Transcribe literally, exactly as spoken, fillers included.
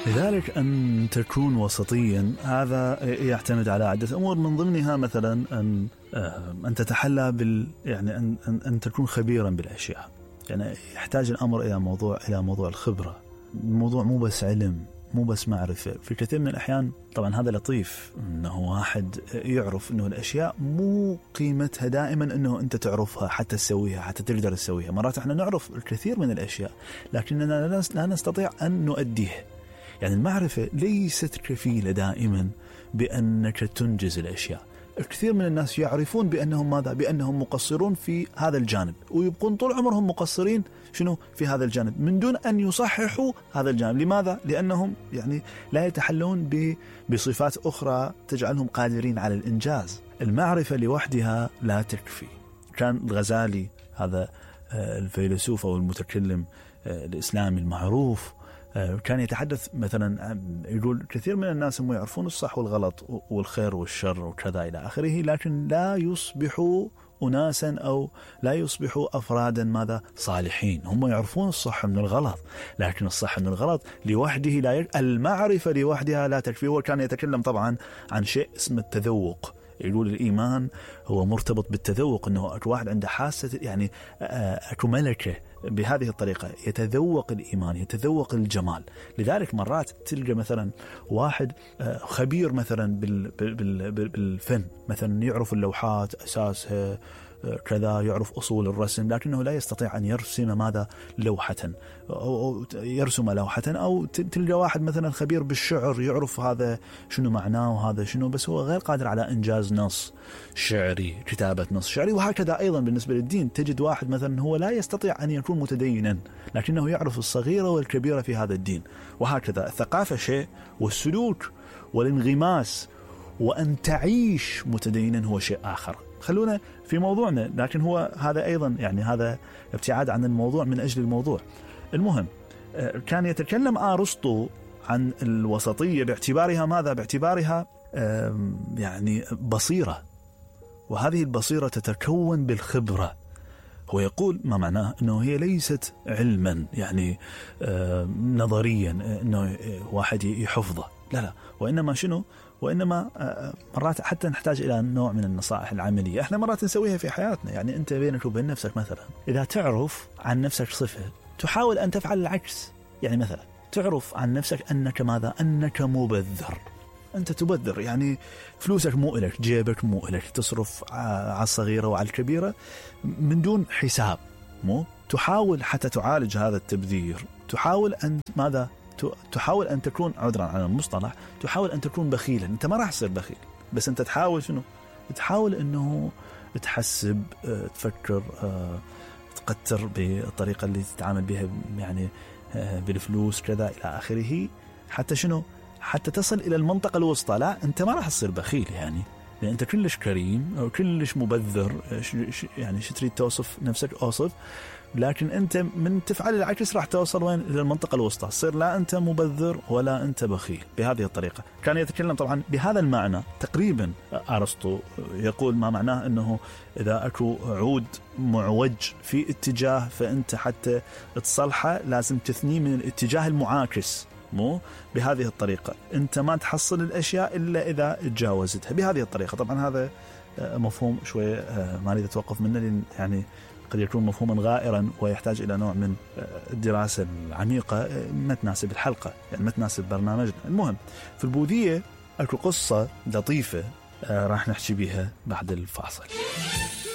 لذلك أن تكون وسطيا هذا يعتمد على عدة أمور، من ضمنها مثلا أن أن تتحلى بال يعني أن أن, أن تكون خبيرا بالأشياء. يعني يحتاج الأمر إلى موضوع إلى موضوع الخبرة. الموضوع مو بس علم، مو بس معرفة. في كثير من الأحيان طبعا هذا لطيف إنه واحد يعرف إنه الأشياء مو قيمتها دائما إنه أنت تعرفها حتى تسويها حتى تقدر تسويها. مرات إحنا نعرف الكثير من الأشياء لكننا لا نستطيع أن نؤديها. يعني المعرفة ليست كفيلة دائما بأنك تنجز الأشياء. الكثير من الناس يعرفون بأنهم ماذا؟ بأنهم مقصرون في هذا الجانب، ويبقون طول عمرهم مقصرين شنو في هذا الجانب من دون أن يصححوا هذا الجانب. لماذا؟ لأنهم يعني لا يتحلون بصفات أخرى تجعلهم قادرين على الإنجاز. المعرفة لوحدها لا تكفي. كان الغزالي هذا الفيلسوف أو المتكلم الإسلامي المعروف كان يتحدث مثلا، يقول كثير من الناس هم يعرفون الصح والغلط والخير والشر وكذا إلى آخره، لكن لا يصبحوا أناسا أو لا يصبحوا أفرادا ماذا صالحين. هم يعرفون الصح من الغلط، لكن الصح من الغلط لوحده لا يكفي. المعرفة لوحدها لا تكفي. هو كان يتكلم طبعا عن شيء اسمه التذوق. يقول الإيمان هو مرتبط بالتذوق، أنه أكو واحد عنده حاسة يعني أكو ملكة بهذه الطريقة يتذوق الإيمان، يتذوق الجمال. لذلك مرات تلقى مثلا واحد خبير مثلا بالفن، مثلا يعرف اللوحات أساسها كذا، يعرف أصول الرسم، لكنه لا يستطيع أن يرسم ماذا لوحة أو يرسم لوحة. أو تلقى واحد مثلا خبير بالشعر، يعرف هذا شنو معناه وهذا شنو، بس هو غير قادر على إنجاز نص شعري، كتابة نص شعري. وهكذا أيضا بالنسبة للدين، تجد واحد مثلا هو لا يستطيع أن يكون متدينا، لكنه يعرف الصغيرة والكبيرة في هذا الدين. وهكذا الثقافة شيء، والسلوك والانغماس وأن تعيش متدينا هو شيء آخر. خلونا في موضوعنا، لكن هو هذا أيضا يعني هذا ابتعاد عن الموضوع من أجل الموضوع. المهم كان يتكلم أرسطو عن الوسطية باعتبارها ماذا؟ باعتبارها يعني بصيرة، وهذه البصيرة تتكون بالخبرة. هو يقول ما معناه أنه هي ليست علما يعني نظريا أنه واحد يحفظه، لا لا، وإنما شنو؟ وإنما مرات حتى نحتاج إلى نوع من النصائح العملية. إحنا مرات نسويها في حياتنا. يعني أنت بينك وبين نفسك مثلا، إذا تعرف عن نفسك صفة تحاول أن تفعل العكس. يعني مثلا تعرف عن نفسك أنك ماذا؟ أنك مبذر. أنت تبذر، يعني فلوسك مو إلك، جيبك مو إلك، تصرف على الصغيرة وعلى الكبيرة من دون حساب. مو تحاول حتى تعالج هذا التبذير، تحاول أن ماذا؟ تحاول أن تكون، عذرا عن المصطلح، تحاول أن تكون بخيلا. أنت ما راح تصير بخيل، بس أنت تحاول شنو؟ تحاول أنه تحسب، تفكر، تقتر بالطريقة اللي تتعامل بها يعني بالفلوس كذا إلى آخره، حتى شنو؟ حتى تصل إلى المنطقة الوسطى. لا، أنت ما راح تصير بخيل يعني، لأن أنت كلش كريم أو كلش مبذر. يعني شو تريد توصف نفسك؟ أوصف. لكن أنت من تفعل العكس راح توصل وين؟ إلى المنطقة الوسطى، تصير لا أنت مبذر ولا أنت بخيل. بهذه الطريقة كان يتكلم طبعا بهذا المعنى تقريبا. أرسطو يقول ما معناه أنه إذا أكو عود معوج في اتجاه، فأنت حتى تصلحه لازم تثنيه من الاتجاه المعاكس. مو بهذه الطريقة أنت ما تحصل الأشياء إلا إذا تجاوزتها بهذه الطريقة. طبعا هذا مفهوم شوية ما نريد أتوقف منه، لأن يعني قد يكون مفهوما غائرا ويحتاج إلى نوع من الدراسة العميقة ما تناسب الحلقة، يعني ما تناسب برنامجنا. المهم في البوذية أكو قصة لطيفة راح نحكي بها بعد الفاصل.